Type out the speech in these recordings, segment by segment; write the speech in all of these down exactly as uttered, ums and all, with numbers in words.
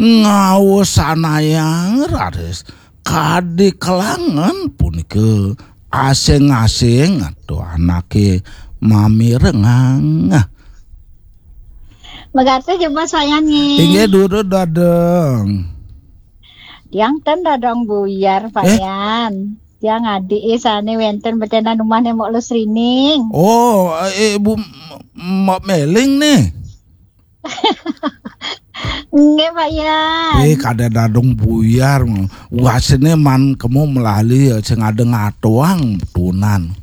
Ngaosanayang raris kadi kelangan punika asing-asing atau anake mamirengang. Megate jebos Payan nggih. Inggih durus Dadong. Tiang ten Dadong Buyar, eh? Payan. Tiang adik sane wenten betenan umahne Mok Lusrining. Oh, eh, Ibu M-, Mok Meling nih. Nggih, Payan. Eh, kada Dadong Buyar. Wasene man kemu melali sing ada ngatoang tunan.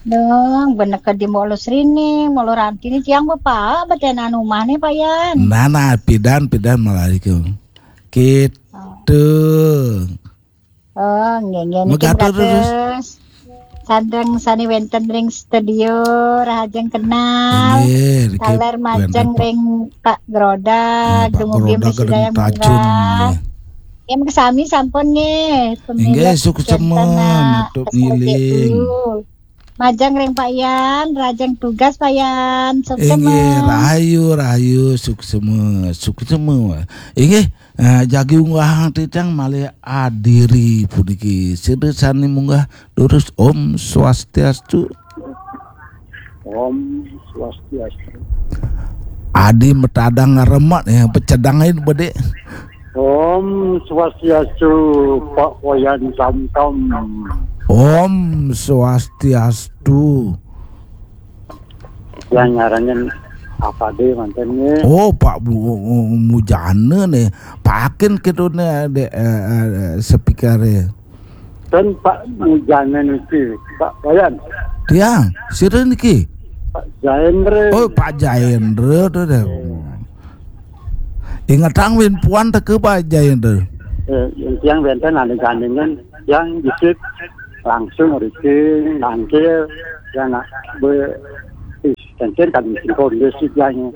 Dong, bener ke di Mok Lusrining, Mok Lurantini tiang bepaak betenan umahne, Payan. Nah, nah, pidan, pidan melali ke. Gitu. Oh, nggih, nggih, niki megatur terus. Sandeng sane wenten ring studio, rahajeng kenal. Nggih, niki taler majeng wenten ring Pak Grodag, eh, Pak dumugi Grodag misi daya nggih. Nggih, kesami sampun nggih. Nggih, suksema, nutup ngiling. Majeng ring Pak Yan, rahajeng tugas Pak Yan, suksema. Inggih, rahayu, rahayu, suksema, suksema. Inggih, Eh, jagi unggahang titiang malih adiri puniki. Sida sane munggah durus. Om Swastiastu. Om Swastiastu. Adi metadang remet ya, pecedangin bedik. Om Swastiastu, Pak Wayan Samtam. Om Swastiastu. Yang ngarannya apa deh manten nih? Oh, Pak Bu-, Mujana nih. Pakin kita nih ada, eh, eh, speaker ya. Dan Pak Mujana niki, Pak Wayan. Tiang, sira niki? Pak Jaendra. Oh, Pak Jaendra tuh deh. Ingetang win puan teke Pak Jaendra. Eh, yang tiang wenten ane gandingan yang dikit langsung riki nangkil yang nak be ih, kencen kan singkong dia sih yang,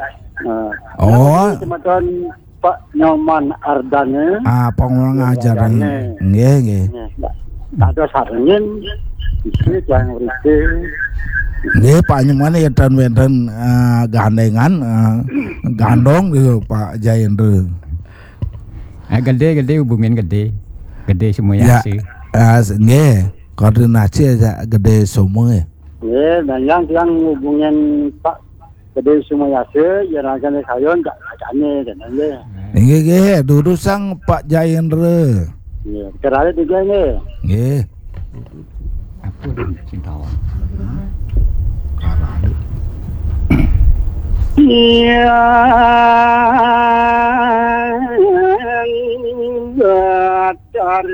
eh, oh. Semeton Pak Nyoman Ardane. Ah, pangurang ajar. Ardane. Nggih, nggih. Nggih, Pak. Ada sarengin isi yang riki. Nggih, Pak Nyoman ya dan wenten, eh, gandengan, eh, gandong gitu, Pak Jaendra. Eh, gede, gede hubungin gede. Gede semua ya, ya sih. Eh, nggih, koordinasi aja gede semua. Nggih, dan yang tiang hubungin Pak Gede Sumayasa, ya rancane sayun, tak kacane, dan nggih. Nggih, nggih, durusang Pak Jaendra. Nggih, keralit juga nggih. Nggih. Apa dia sing tawon? Iya. Datar.